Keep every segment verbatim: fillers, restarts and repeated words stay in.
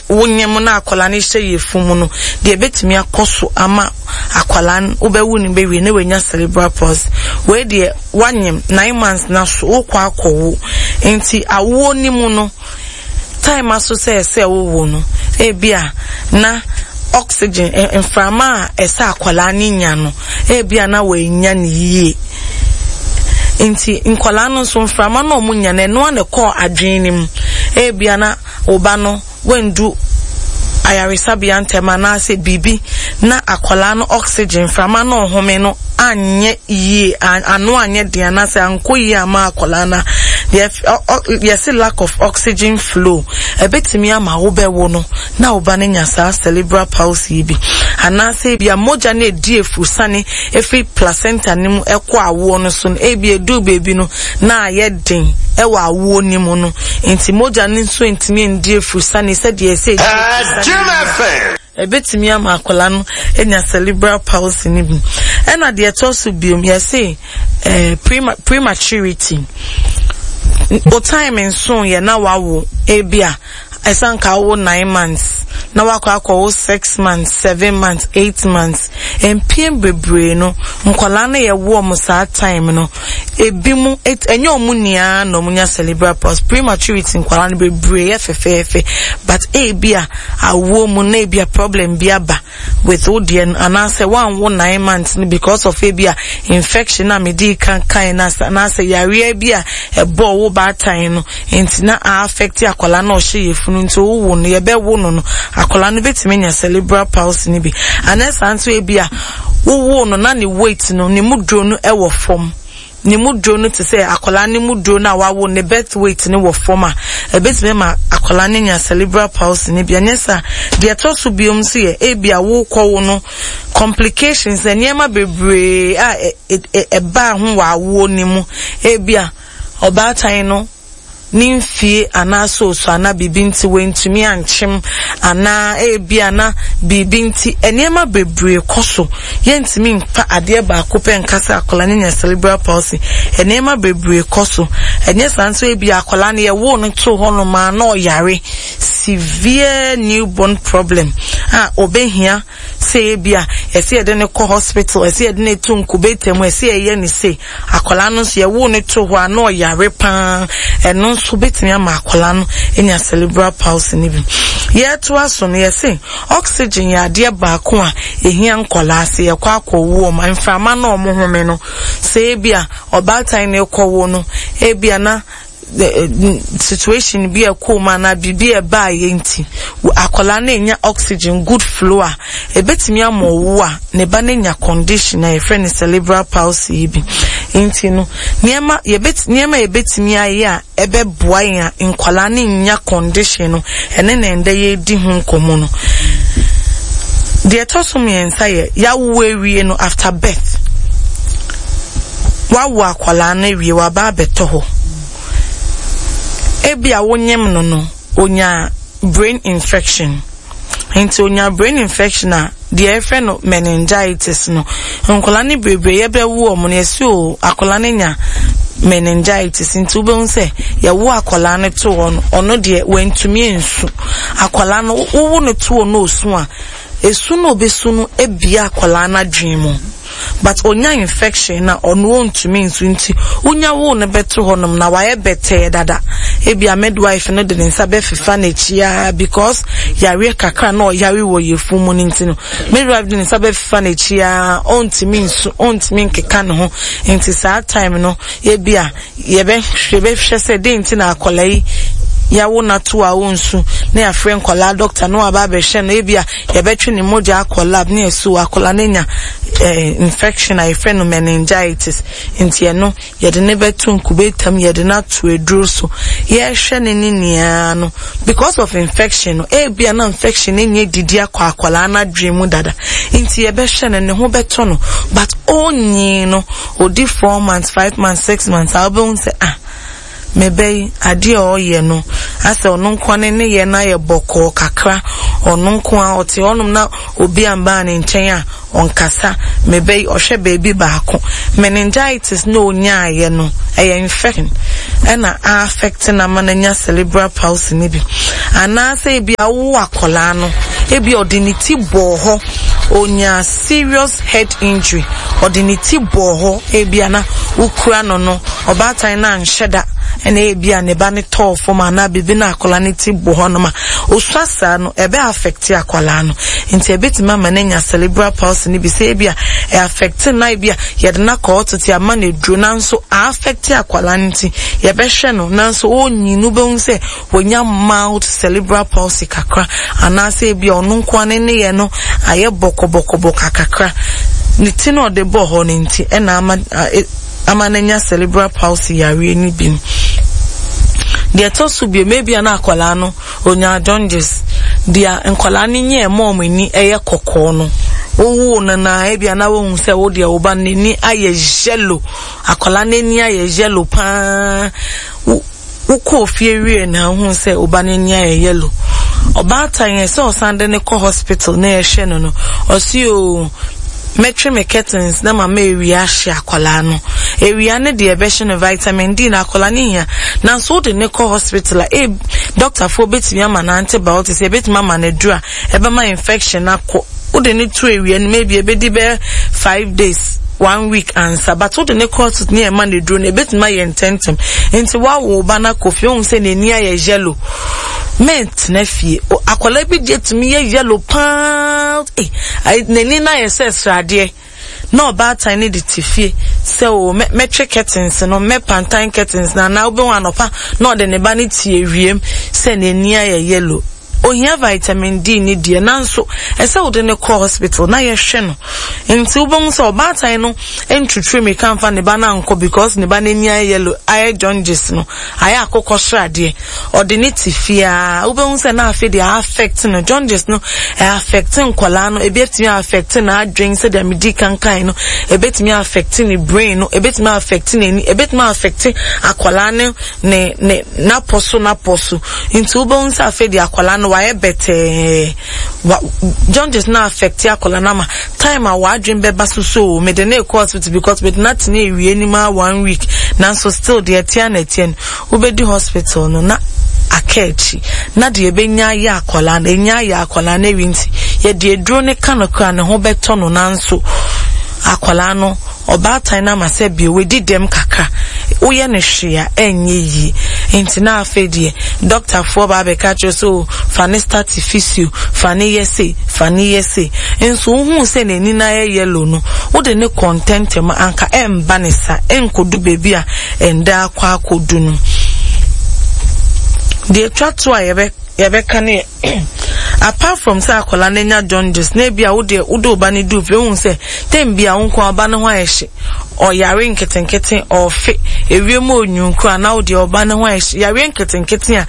Wonyem na akwadaa no hyɛ yafunu mu no, deɛ ebetumi akɔ so ama akwadaa no wobɛwu no bɛwie na wanya cerebral palsy. Wei deɛ, wanyem nine months na so wokɔ akɔwo, nti awoɔ no mu no, time aso sɛ ɛsɛ wowo no, ebia na oxygen, mframa a ɛsɛ akwadaa no nya no, ebia na wanya ne yie. Nti nkwadaa no nso mframa na ɔmo nya no, ɛno na ɛkɔɔ adwene no mu. Ebia na ɔba no wendu ayaresabea ntɛm anaasɛ biribi na akwadaa no oxygen, mframa na ɔhome no anyɛ yie, ano anyɛ den anaasɛ ankɔ yie ama akwadaa no. Yɛsi lack of oxygen flow ɛbɛtumi ama wobɛwo no na ɔba no nya saa cerebral palsy yi bi, anaasɛ ebia mogya no edi efusane efiri placenta no mu ɛkɔ awoɔ no so no, ebi edu beebi no na ayɛ den ɛwɔ awoɔ no mu no, nti mogya no nso ntumi ndi efusane sɛdeɛ ɛsɛ edi efusane. Ebetumi ama akwadaa no anya cerebral palsy no bi. Ɛna deɛ ɛtɔ so biom, yɛse ɛɛ prema prematurity o, time nso yɛ na wawo, ebia ɛsan ka wo nine months na wakɔ akɔwo six months, seven months, eight months. Mpien bebree no, nkwadaa no yɛ wo ɔmo saa time no, ebi mu ɛnyɛ ɔmo nyinaa na ɔmo nya cerebral palsy. Prematurity nkwadaa no bebree yɛ fɛfɛɛfɛ, but ebi a awoɔ mu na ebi a problem bi aba with wo deɛ no, anaasɛ wanwo nine months no because of ebi a infection a mede kan kan na anaasɛ yareɛ bi a ɛbɔ wo baatan no, nti na a affect akwadaa na ɔhyɛ yafunu. Nti wowo no, yɛbɛwo no no, akwadaa no bɛtumi anya cerebral palsy no bi. Anaa nso ebi a wowo no na ne weight no, ne mu duro no ɛwɔ fam, ne mu duro no te sɛ akwadaa ne mu duro no a wawo ne birth weight no wɔ fam a, ebetumi ma akwadaa no nya cerebral palsy no bi. Ɛnyɛ saa, deɛ ɛtɔ so biom nso yɛ ebi a wokɔ wo no, complications, nneɛma bebree a ɛbaa ho wɔ awoɔ ne mu. Ebi a ɔbaatan no ne mfie anaasɛ osu anaa biribi nti wantumi ankyem, anaa ebi ana biribi nti, nneɛma bebree kɔ so. Yɛntumi mfa adeɛ baako pɛ nkasa akwadaa no nya cerebral palsy. Nneɛma bebree kɔ so. Ɛnyɛ saa nso, ebi akwadaa no yɛwoo no to hɔnom a na ɔyare severe newborn problem a obehia sɛ ebi a ɛsɛ yɛde no kɔ hospital, ɛsɛ yɛde no eto incubator mu, ɛsɛ yɛyɛ ne se akwadaa no nso yɛwoo no to hɔ a na ɔyare paa, ɛno nso betumi ama akwadaa no anya cerebral palsy no bi. Yɛtoa so no, yɛse oxygen yɛ adeɛ baako a ehia nkwadaa sɛ yɛkɔ akɔwo ɔmo. Mframa na ɔmo home no, sɛ ebi a ɔbaatan no kɔwo no, ebi a na situation bi a ɛkɔɔ mu anaa biribi a ɛbaa yɛ nti akwadaa no nya oxygen good flow a, ebetumi ama ɔwo a ne ba no nya condition a yɛfrɛ no cerebral palsy yi bi. Nti no, nneɛma yɛbɛt nneɛma yɛbɛtumi ayɛ a ɛbɛboa yɛn a nkwadaa no nya condition no, ɛne na ɛndɛ yɛredi ho nkɔmɔ no. Deɛ ɛtɔ so mmiɛnsa yɛ yawo awie no, after birth. Wawo akwadaa no awie, waba abɛtɔ hɔ, ebi a wonyem no no onya brain infection. Nti onya brain infection a, deɛ yɛfrɛ no meningitis no, nkwadaa no bebree yɛbɛwo wɔn no, yɛsi o akwadaa no nya meningitis. Nti wobɛhu sɛ yɛwo akwadaa no to hɔ no, ɔno deɛ wantumi nsu. Akwadaa no wowo no to hɔ no, osu a, esu no obesu no ebia akwadaa no adwene mu, but onya infection na ɔno ontumi nsu. Nti wonya wo no bɛto hɔnom na wayɛ bɛtɛɛ dada, ebia midwife no de ne nsa bɛfefa n'akyi a, because yareɛ kakra na ɔyare wɔ yafunu mu no nti no, midwife de ne nsa bɛfefa n'akyi a, ɔntumi nsu, ɔntumi nkeka ne ho. Nti saa time no, ebia yɛbɛ yɛbɛhwɛ sɛ den nti na akwadaa yi yawo n'ato a ɔnsu, na yɛafrɛ nkwadaa doctor na waba abɛhwɛ no. Ebia yɛbɛtwe ne mogya akɔ lab ne yɛso akwadaa no nya eh, infection a yɛfrɛ no meningitis. Nti ɛno yɛde ne bɛto incubator mu, yɛde no ato aduro so, yɛrehwɛ ne ne nyinaa no because of infection no. Ebia na infection no nyɛ didi akɔ akwadaa no adwene mu dada, nti yɛbɛhwɛ no, ne ho bɛtɔ no, but ɔnyi no odi four months, five months, six months a, wobɛhu sɛ ah, mebɛ yi adeɛ a ɔyɛ no asɛ ɔno nko ne ne yɛ no ayɛ bɔkɔɔ kakra. Ɔno nko a ɔte hɔnom na obi amba ne nkyɛn a ɔnkasa. Mebɛyi ɔhwɛ baabi baako. Meningitis na onyaayɛ no ɛyɛ infection ɛna affect na ma no nya cerebral palsy ne bi. Anaasɛ ebi awo akwadaa no, ebi ɔde ne ti bɔɔ hɔ, onya serious head injury, ɔde ne ti bɔɔ hɔ, ebi ana wokura no no, ɔbaatan na anhyɛ da, ɛna ebi a ne ba ne tɔɔ fam anaa biribi na akwadaa ne ti bɔ hɔ nom a, osua saa no, ɛbɛ affect akwadaa no. Nti ebetumi ama no anya cerebral palsy ne bi sɛ ebi a ɛ affect na ebi a yɛde no akɔ hospital ama no aduro, nanso a affect akwadaa no nti yɛbɛhwɛ no, nanso onyi no bɛhu sɛ wonya mild cerebral palsy kakra, anaasɛ ebi a ɔno nko ne ne yɛ no ayɛ bɔkɔbɔkɔbɔ kakra. Ne ti na ɔde bɔ hɔ no nti ɛna ama ama no anya cerebral palsy yareɛ no bi. Deɛ ɛtɔ so bio, maybe ana akwadaa no onya jaundice. Deɛ nkwadaa no nyɛ ɛma ɔmo ani ɛyɛ kɔkɔɔ no, wowo no na ebi ana wohu sɛ wo deɛ wo ba n'ani ayɛ yellow, akwadaa n'ani ayɛ yellow paa. Wokɔɔ fie wie na wohu sɛ wo ba n'ani ayɛ yellow. Ɔbaatan yɛ sɛ ɔsan de ne kɔ hospital na yɛhwɛ no no, ɔsi o, mɛtwe me curtains na mama ewia ahye akwadaa no. Ewia ne deɛ ɛbɛhyɛ no vitamin D na akwadaa no hia. Nanso wode ne kɔ hospital a, e doctorfoɔ betumi ama no antibiotics, ebetumi ama no aduru a ɛbɛma infection akɔ. Wode ne to ewia no, maybe ebedi bɛyɛ five days, one week ansa, but wode ne kɔ hospital ne ɛma no aduru no, ebetumi ayɛ ntɛntɛm. Nti wawo ba no akɔ fie, ohun sɛ n'ani ayɛ yellow, mɛntena fie. Akwadaa bi deɛ tumi yɛ yellow paa, eh, n'ani no ayɛ sɛ sradeɛ, na ɔbaatan ne de te fie sɛ o mɛtwe curtains no, mɛpantan curtains no, anaa wobɛhu anɔpa na ɔde ne ba no te ewiem sɛ n'ani ayɛ yellow. Ohia vitamin D ne deɛ, nanso ɛsɛ wode ne kɔ hospital na yɛhwɛ no. Nti wobɛhu sɛ ɔbaatan no ntwitwi mirika mfa ne ba no ankɔ because ne ba no ani ayɛ yellow, ayɛ jaundice no, ayɛ akokɔ sradeɛ. Ɔde ne te fie a, wobɛhu sɛ na afei deɛ affect no. Jaundice no ɛ affect nkwadaa no, ebi etumi affect n'adwen sɛdeɛ medi kankan no, ebetumi affect ne brain no, ebetumi affect n'ani, ebetumi affect akwadaa no ne ne n'apɔ so n'apɔ so. Nti wobɛhu sɛ afei deɛ akwadaa no wayɛ bɛtɛɛ. Wa jaundice na affect akwadaa no ama time a wadwen bɛba so so mede ne kɔ hospital because mede na tena ewie anim a one week, nanso still deɛ ɛteɛ na ɛteɛ no, wobɛdi hospital no na aka akyi na deɛ ɛbɛnya ayɛ akwadaa no, ɛnya ayɛ akwadaa no awie. Nti yɛde aduro ne ka no kora ne ho bɛtɔ no, nanso akwadaa no ɔbaatan no ama sɛ bio wadi dɛm kakra, woyɛ no hwee a ɛnyɛ yie. Nti na afei deɛ dɔktafoɔ ba abɛka kyerɛ sɛ o, fa ne start physio, fa ne yɛ sei, fa ne yɛ sei, nso wohuu sɛ n'ani no ayɛ yellow no, wode ne kɔ ntɛntɛm anka ɛmba ne sa ɛnkɔdu baabi a ɛnda akɔ akɔdu no. Deɛ twa to a yɛbɛ yɛbɛka ne, apart from sɛ akwadaa no anya jaundice, na ebi a wode wode wo ba no du fie, wohu sɛ tem bi a wo nko ɔba no ho ayɛ hye, ɔyare nketenkete, ɔfe ewiem, onyunkuru, anaa wode ɔba no ho ayɛ hye, yareɛ nketenkete a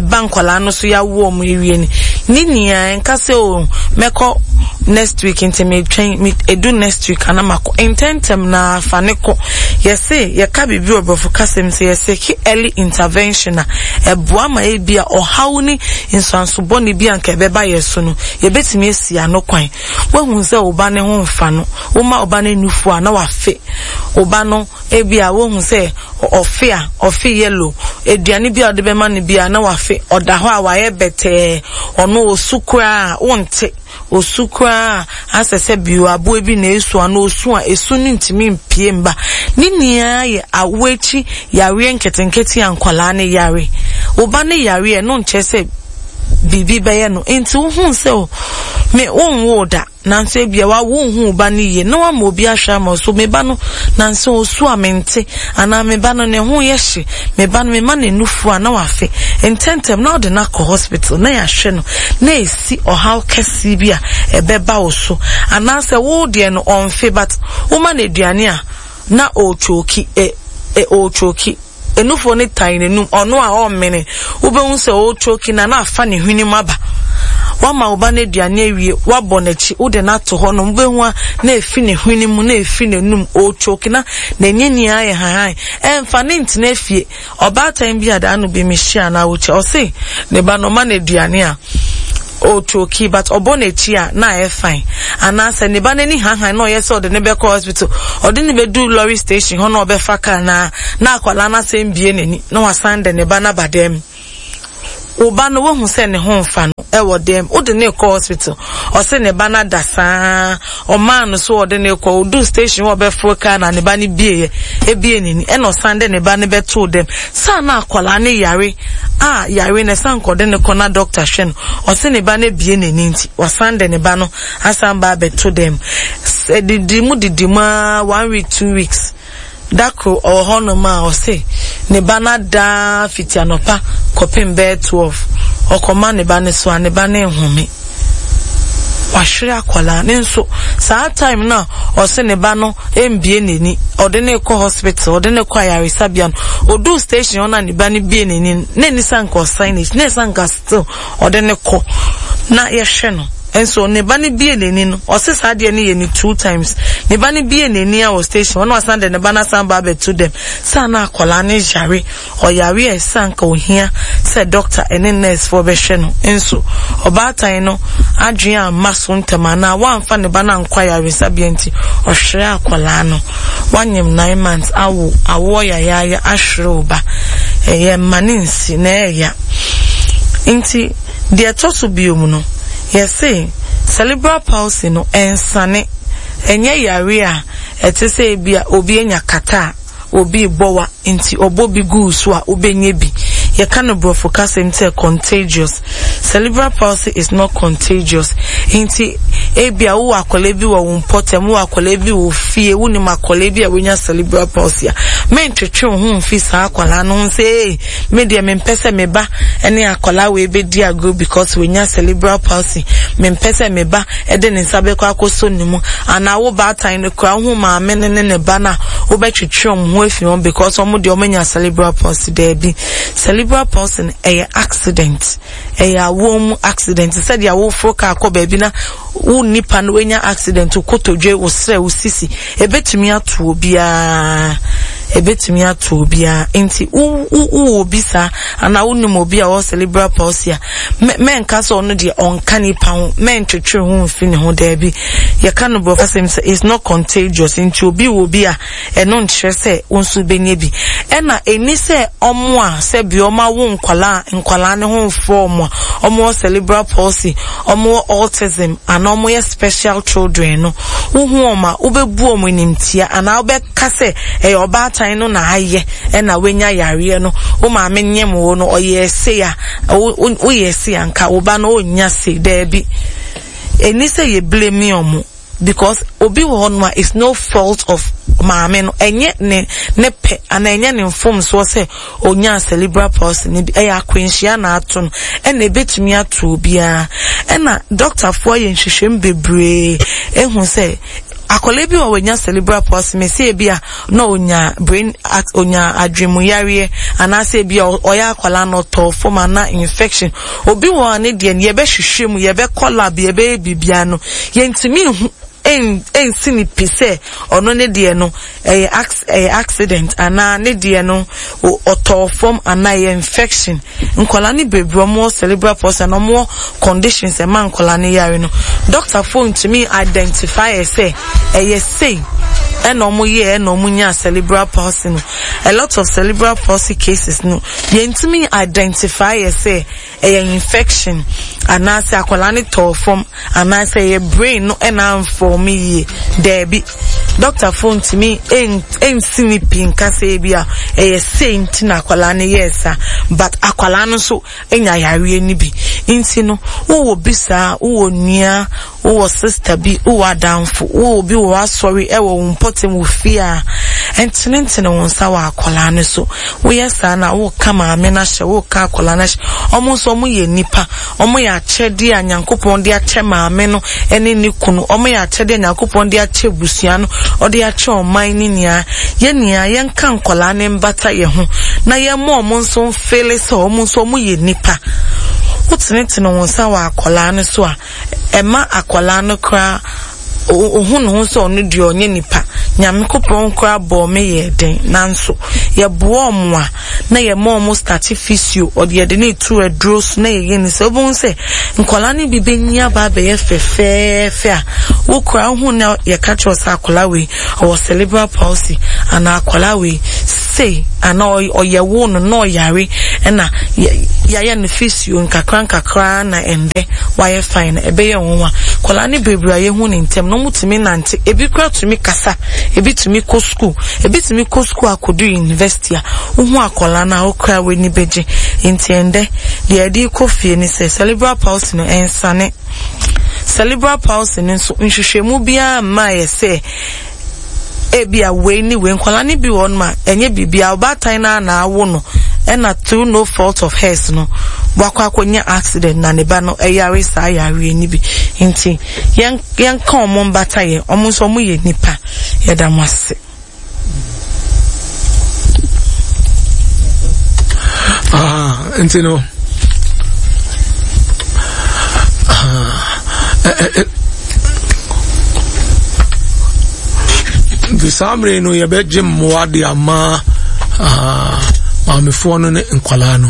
ɛba nkwadaa no so yɛawo ɔmo ewie ni ne nyinaa, nka sɛ o, mɛkɔ next week, nti metwɛn me edu next week ana makɔ. Ntɛntɛm na afa ne kɔ. Yɛse yɛka biribi wɔ borɔfo kasɛm sɛ yɛsɛ ki early intervention a ɛboa ma ebi a ɔhaw ne nsuanso bɔne bi anka ɛbɛba yɛ so no, yɛbɛtumi asi ano kwan. Woahu sɛ wo ba ne ho mfa no, woma ɔba no nufu a na wafe. Wo ba no ebi a wohu sɛ ɔfe a ɔfe yellow, aduane bi a ɔde bɛma no bi a na wafe, ɔda hɔ a wayɛ bɛtɛɛ, ɔno osu koraa wonte osu koraa, asɛ sɛ bio aboa bi na esu ano osu a esu no ntumi mpie mba. Ne nyinaa yɛ awo akyi yareɛ nketenkete a nkwadaa ne yare. Wo ba ne yareɛ no nkyerɛ sɛ biribi bɛyɛ no. Nti wohu sɛ o, me wonwoo da, nanso ebia wa wonhu wo ba no yie na wama obi ahwɛ ama so, me ba no nanso osu a mente, anaa me ba no ne ho yɛ hye, me ba no mema ne nufu a na wafe, ntɛntɛm na ɔde no akɔ hospital na yɛahwɛ no na esi ɔhaw kɛseɛ bi a ɛbɛba wo so. Anaasɛ wo deɛ no ɔnfe, but woma no aduane a na ɔretwoki, ɛ ɛ ɔretwoki enufoɔ no tan n'anum, ɔno a ɔmmene, wobɛhu sɛ ɔretwoki na na afa ne hwene mu aba. Wama wo ba no aduane awie, wabɔ n'akyi, wode no ato hɔ no, wobɛhu a na efi ne hwene mu na efi n'anum, ɔretwoki na n'ani nyinaa yɛ hahan. Ɛmfa ne ntena fie. Ɔbaatan bi a daa no bi mehyia na awokyɛ, ɔse ne ba no ɔma no aduane a Ɔtwoki, but ɔbɔ n'akyi a na ayɛ fine. Anaasɛ ne ba n'ani hanhan na ɔyɛ sɛ ɔde ne bɛkɔ hospital, ɔde ne bɛdu lorry station hɔ na ɔbɛfa car na na akwadaa no asɛm bie n'ani na wasan de ne ba n'aba dɛm. Wo ba no, wohu sɛ ne ho mfa no ɛwɔ dɛm, wode ne kɔ hospital, ɔsɛ ne ba no ada saa. Ɔmaa no so ɔde ne kɔ, odu station hɔ, ɔbɛforo car na ne ba no bie yɛ ebie n'ani, ɛna ɔsan de ne ba no bɛtoo dɛm saa na akwadaa no yare a yare no ɛsan kɔde ne kɔ na doctor hwɛ no, ɔsɛ ne ba no ebie n'ani, nti wasan de ne ba no asan ba abɛto dɛm. Didi mu didi mu aa, one week, two weeks, dakoro ɔwɔ hɔnom a ɔse ne ba no adaa fiti anɔpa kɔpem bɛyɛ twelve. Ɔkɔma ne ba no so a, ne ba no nhome. Wahwere akwadaa ne nso. Saa time no a ɔse ne ba no mbie n'ani, ɔde ne kɔ hospital, ɔde ne kɔ ayaresabea no, oduu station hɔ na ne ba no bie n'ani no, na ani sa nka ɔsan n'akyi na ɛsa nka still ɔde ne kɔ na yɛhwɛ no nso. Ne ba no bie n'ani no, ɔse saa adeɛ no yɛ ne two times. Ne ba no bie n'ani a wɔ station hɔ na wasan de ne ba no asan ba abɛto dɛm saa na akwadaa no yare. Ɔyare a ɛsa nka ohia sɛ doctor ɛne nurse foɔ bɛhwɛ no nso, ɔbaatan no adwene amma so ntɛm anaa wamfa ne ba no ankɔ ayaresabea, nti ɔhwere akwadaa no. Wanyem nine months awo, awoɔ yayaaya, ahwere wo ba, ɛyɛ mma ne nsi na ɛyɛ. Nti deɛ ɛtɔ so biom no, yɛse cerebral palsy no ɛnsane, ɛnyɛ yare a ɛte sɛ ebi a obi anya kata a obi bɔ wa nti ɔbɔ bi gu so a wobɛnya bi. Yɛka no borɔfo kasɛm sɛ contagious. Cerebral palsy is not contagious. Nti ebi a wowɔ akwadaa bi wɔ wo mpɔtam, wowɔ akwadaa bi wɔ fie, wonim akwadaa bi a wonya cerebral palsy a, mentwetwe wo ho mfi saa akwadaa no ho sɛ, "Ee, me deɛ, mempɛ sɛ me ba ne akwadaa wei bɛdi agorɔ because wonya cerebral palsy. Mempɛ sɛ me ba de ne nsa bɛkɔ akɔsɔ ne mu," anaa wo baatan no koraa, wohu maame no ne ne ba no a, wobɛtwetwe wɔn ho afi wɔn because wɔn deɛ, wɔanya cerebral palsy. Daabi, cerebral palsy no ɛyɛ accident, ɛyɛ awoɔ mu accident, sɛdeɛ awoforo kaa kɔ baabi na wo nipa no wanya accident, wo kotodwe, wo serɛ, wo sisi, ebetumi ato obiara, ebetumi ato obiara. Nti wo wo wɔ obi saa anaa wonim obi a ɔwɔ cerebral palsy a, mɛnka sɛ ɔno deɛ ɔnka nipa ho, mɛntwetwe ho mfi ne ho. Daabi, yɛka no borɔfo asɛm sɛ it's not contagious. Nti obi wɔ bi a, ɛno nkyerɛ sɛ wo nso bɛnya bi. Ɛna ɛni sɛ ɔmo a sɛbi ɔmo awo nkwalaa, nkwalaa ne ho mfɔ ɔmo a ɔmo wɔ cerebral palsy, ɔmo wɔ autism anaa ɔmo yɛ special children no, wohu ɔmo a, wobɛbu ɔmo animtia anaa wobɛka sɛ ɛyɛ ɔbaatan no na ayɛ ɛna wanya yareɛ no, wo maame nyɛm wo no ɔyɛ se a woyɛ se a nka wo ba no ɔnya se. Daabi, ɛni sɛ yɛ blame ɔmo because obi wɔ hɔ nom a it's no fault of maame no, ɛnyɛ ne ne pɛ anaa ɛnyɛ ne mfomsoɔ sɛ onya cerebral palsy ne bi. Ɛyɛ akwanhyia na ato no, ɛna ebetumi ato obiara. Ɛna dɔktafoɔ yɛ nhwehwɛmu bebree ehu sɛ akwadaa bi wɔ wɔnya cerebral palsy mɛ sɛ ebi a na onya brain, onya adwemuyareɛ, anaasɛ ebi a ɔyɛ akwadaa na ɔtɔ fam ana infection. Obi wɔ ne deɛ no, yɛbɛhwehwɛ mu, yɛbɛkɔ lab, yɛbɛyɛ biribiara no, yɛntumi nhu ɛnsi ne pi sɛ ɔno ne deɛ no ɛyɛ ɛyɛ accident anaa ne deɛ no ɔtɔɔ fam anaa ɛyɛ infection. Nkwadaa no bebree ɔmo wɔ cerebral palsy na ɔmo wɔ conditions ɛma nkwadaa no yare no, doctor fo ntumi identify sɛ ɛyɛ sei ɛna ɔmo yɛ ɛna ɔmo nya cerebral palsy no. A lot of cerebral palsy cases no, yɛntumi identify sɛ ɛyɛ infection anaasɛ akwadaa no tɔɔ fam anaasɛ ɛyɛ brain no ɛna amfɔm yie. Daabi, doctor fo ntumi ɛnsi ne pi nkasa bi a ɛyɛ sei nti na akwadaa no yɛɛ saa, but akwadaa no nso anya yareɛ no bi. Nti no wowɔ bi saa, wowɔ nua, wowɔ sister bi, wowɔ adamfo, wowɔ bi wɔ asɔre, ɛwɔ wo mpɔtam, wɔ fie a, ɛntenetene wo nsa wɔ akwadaa no so. Woyɛ saa na woka maame no ahyɛ, woka akwadaa no ahyɛ. Ɔmo nso ɔmo yɛ nipa, ɔmo yɛ akyɛdeɛ a Nyankopɔn de akyɛ maame no ɛne ne kunu, ɔmo yɛ akyɛdeɛ a Nyankopɔn de akyɛ busua no, ɔde akyɛ ɔman ne nyinaa. Yɛn nyinaa yɛnka nkwadaa ne mbata yɛn ho na yɛn ɔmo nso mfele sɛ ɔmo nso ɔmo yɛ nipa. Wotenetene wo nsa wɔ akwadaa no so a, ɛma akwadaa no koraa ohun ne ho sɛ ɔno deɛ ɔnyɛ nipa. Nyankopɔn koraa bɔɔ me yɛɛ den, nanso yɛboa ɔmo a na yɛma ɔmo start physio, ɔde yɛde ne to aduro so na yɛyɛ ne sɛ wobɛhu sɛ nkwadaa no bi bɛnyi aba abɛyɛ fɛfɛɛfɛ a wokora wohu na yɛka kyerɛ sɛ akwadaa wei ɔwɔ cerebral palsy anaa akwadaa wei sei anaa ɔyɛ wo no na ɔyare ɛna yɛayɛ no physio nkakra nkakra na ɛndɛ wayɛ fine. Ɛbɛyɛ nwanwa. Nkwadaa no bebree a yɛhu ne ntɛm na ɔmo tumi nante, ebi kora tumi kasa, ebi tumi kɔ school, ebi tumi kɔ school akɔdu university a wohu akwadaa no a wokora w'ani bɛgye. Nti ɛndɛ deɛ yɛde kɔ fie ne sɛ cerebral palsy no ɛnsane. Cerebral palsy no nso nhwehwɛmu biara mmaa yɛ sɛ ebi a wei ne wei. Nkwadaa no bi wɔ hɔnom a ɛnyɛ biribiara, ɔbaatan no a na awo no ɛna through no fault of hers no wakɔ akɔnya accident na ne ba no ɛyare saa yareɛ no bi. Nti yɛn yɛnka ɔmo mbata yɛ, ɔmo nso ɔmo yɛ nipa. Yɛda mo ase. Ah, nti no ah, eh, eh, nti saa mmere no yɛbɛgye mmoa de ama ah, maamefoɔ no ne nkwalaa no.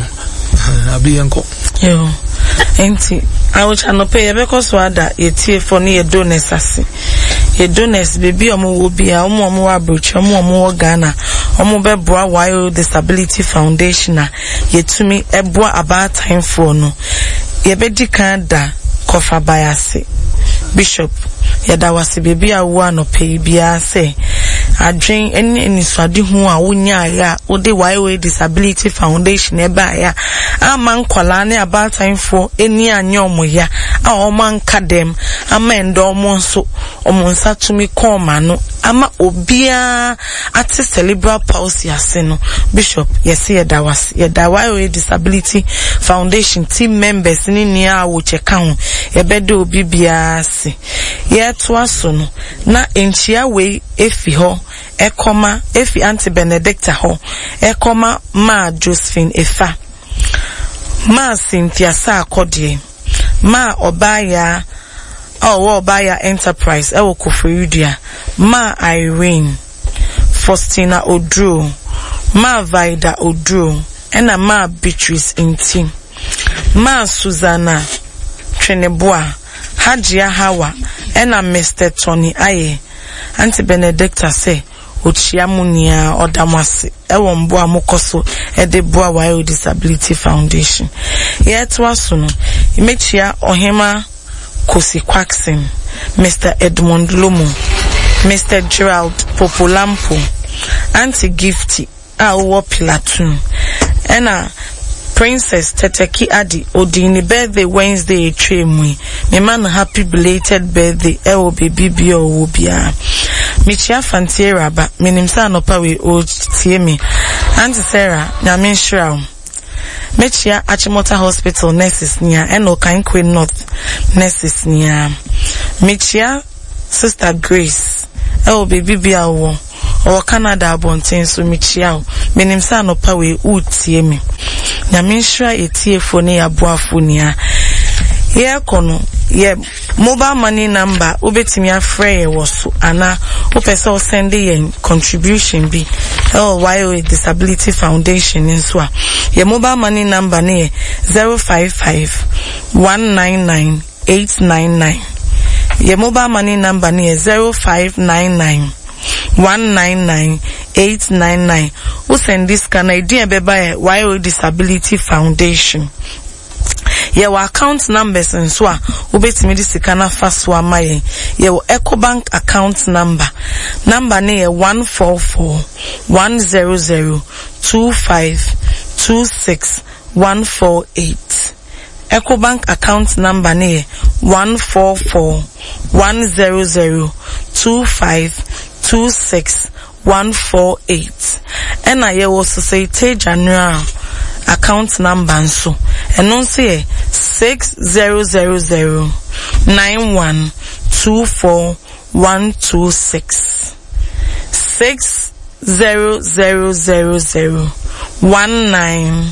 Ah, abi yɛnkɔ. Yo. Nti awokya nɔpɛ yɛbɛkɔ so ada yɛtiefoɔ ne yɛ donors ase. Yɛ donors beebi a ɔmo wɔ bia, ɔmo a ɔmo wɔ aburokyire, ɔmo a ɔmo wɔ Ghana, ɔmo bɛboa Y O Disability Foundation a yɛtumi ɛboa abaatanfoɔ no. Yɛbɛdi kan da kɔfa ase. Bishop, yɛda wase beebi a wowɔ anɔpɛ yi biara sɛ adwen ne anisoadehu a wonyaeɛ a wode Y O A Disability Foundation ɛbaeɛ a ama nkwadaa ne abaatanfoɔ ani anyɛ ɔmo ya a ɔmo anka dɛm ama ɛndɛ ɔmo nso ɔmo nsa tumi kɔn ɔmo ano ama obiara ate cerebral palsy ase no. Bishop, yɛsi yɛda wase. Yɛda Y O A Disability Foundation team members ne nea a wɔkyɛ ka ho, yɛbɛda obi biara ase. Yɛtoa so no na nkyia wei efi hɔ ɛkɔma efi Aunty Benedicta hɔ ɛkɔma maa Josephine Efa, maa Cynthia Saakɔdeɛ, maa Ɔbaaya a ɔwɔ Ɔbaaya Enterprise ɛwɔ Koforidua, maa Irene Faustina Oduro, maa Vida Oduro, ɛna maa Beatrice Nti, maa Susanna Tweneboa, Hajia Hawa, ɛna Mister Tony Ayɛ. Aunty Benedicta sɛ okyia mu nyinaa, ɔda mo ase ɛwɔ mboa a mokɔ so ɛde boa Y O Disability Foundation. Yɛtoa so no, mekyia Ɔhema Kosi Kwaksin, Mister Edmond Lomo, Mister Gerald Popolampo, Aunty Gifty a ɔwɔ Pilatoon, ɛna Princess Teteki Adi odi ne birthday Wednesday etwa mu yi. Mema no happy belated birthday ɛwɔ beebi bia ɔwɔ biara. Mekyia Fantiera ba, menim sɛ anɔpa wei ɔretie me. Aunty Sarah, Nyame nhyira wo. Mekyia Achimota Hospital nurses nia ɛna Okaikwei North nurses nia. Mekyia Sister Grace ɛwɔ beebi bia ɔwɔ. Ɔwɔ Canada abɔnten so, mekyia wo. Menim sɛ anɔpa wei woretie me. Nyame nhyira yɛtiefoɔ ne yɛaboafoɔ nyinaa. Yɛrekɔ no, yɛ mobile money number wobɛtumi afrɛ yɛ wɔ so anaa wopɛ sɛ wosend yɛn contribution bi ɛwɔ Y O A Disability Foundation nso a, yɛ mobile money number no yɛ zero five five one nine nine eight nine nine. Yɛ mobile money number no yɛ zero five nine nine one nine nine eight nine nine. Wosend sika na edin a ɛbɛba yɛ Y O A Disability Foundation. Yɛwɔ account numbers nso a wobɛtumi de sika no afa so ama yɛn. Yɛwɔ Ecobank account number. Number no yɛ one four four one zero zero two five two six one four eight. Ecobank account number no yɛ one four four one zero zero two five two six one four eight. Ɛna yɛwɔ Societe Generale account number nso, ɛno nso yɛ six zero zero zero nine one two four one two six, six zero zero zero zero one nine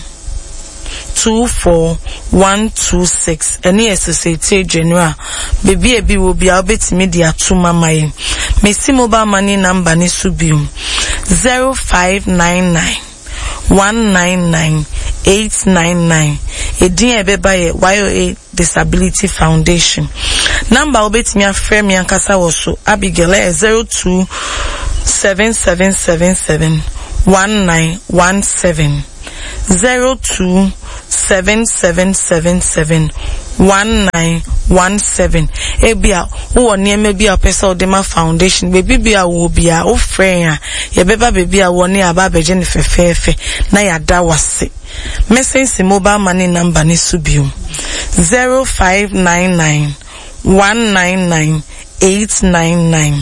two four one two six. Ɛne yɛ Societe Generale. Beebi a ebi wɔ bia wobɛtumi de ato mama yɛn. Mesi mobile money number ne so biom zero five nine nine one nine nine eight nine nine. Edin a ɛbɛba yɛ Y O A Disability Foundation. Number a wobɛtumi afrɛ me ankasa wɔ so, Abigail, ɛyɛ zero two seven seven seven seven one nine one seven zero two seven seven seven seven one nine one seven. Ebia wowɔ nneɛma bi a wopɛ sɛ wode ma foundation, beebi bi a wowɔ biara, wofrɛ yɛn a, yɛbɛba beebi a wɔ ne aba abɛgye no fɛfɛɛfɛ na yɛada wase. Mɛsɛnsi mobile money number ne so biom zero five nine nine one nine nine eight nine nine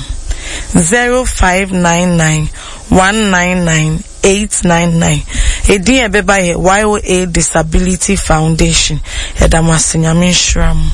zero five nine nine one nine nine eight nine nine. Edin a ɛbɛba yɛ Y O A Disability Foundation. Yɛda mo ase, Nyame nhyira mo.